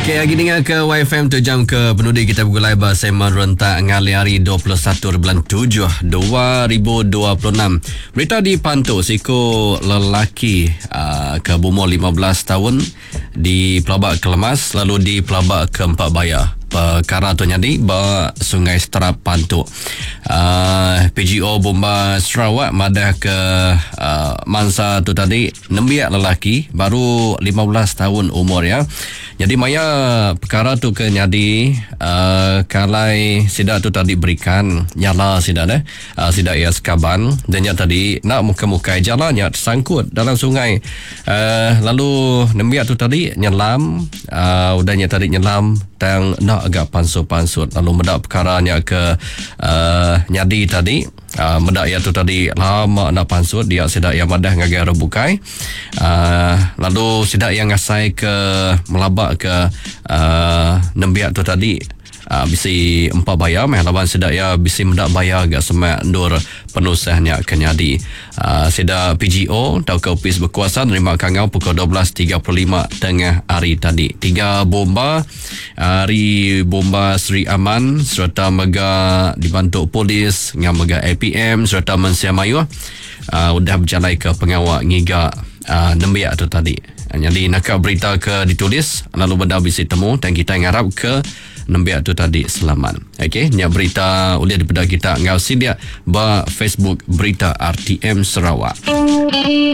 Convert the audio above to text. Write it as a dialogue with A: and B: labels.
A: Okey, agi ninga ke YFM tu jam ke penudi kita begulai ba segmen rentak ngalih hari 21 bulan 7 2026. Berita di Pantu siku lelaki uh, ke berumur 15 tahun di Pelabak Kelemas lalu di Pelabak Keempat Baya. Pekara tu nyadi ba Sungai Seterap Pantu. Uh, PGO Bomba Sarawak madah ke uh, mangsa tu tadi nembiak lelaki baru 15 tahun umur ya. Jadi maya perkara tu ke nyadi uh, kalai sida tu tadi berikan nyala sida deh. Uh, sida ia sekaban dan nya tadi nak muka-mukai jalannya tersangkut dalam sungai. Uh, lalu nembiak tu tadi nyelam uh, udahnya tadi nyelam tang enda agak pansut-pansut lalu meda perkara nya ke uh, nyadi tadi uh, meda ia tu tadi lama enda pansut dia sida ia madah ngagai orang bukai uh, lalu sida ia ngasai ke melaba ke uh, nembiak tu tadi uh, bisi empa baya meh laban sida ia bisi meda baya ga semak endur penusah nya ke nyadi. Uh, sida PGO tauka Opis Bekuasa nerima kangau pukul 12.35 tengah hari tadi. Tiga bomba ari bomba Sri Aman sereta mega dibantu polis ngau mega APM sereta mensia mayuh uh, udah berjalai ke pengawa ngiga uh, nembiak tu tadi. Jadi naka berita ke ditulis lalu benda bisi temu dan kita ngarap ke nembiak tu tadi selamat. Okey, nya berita ulih dipeda kita enggau sidik ba Facebook Berita RTM Sarawak.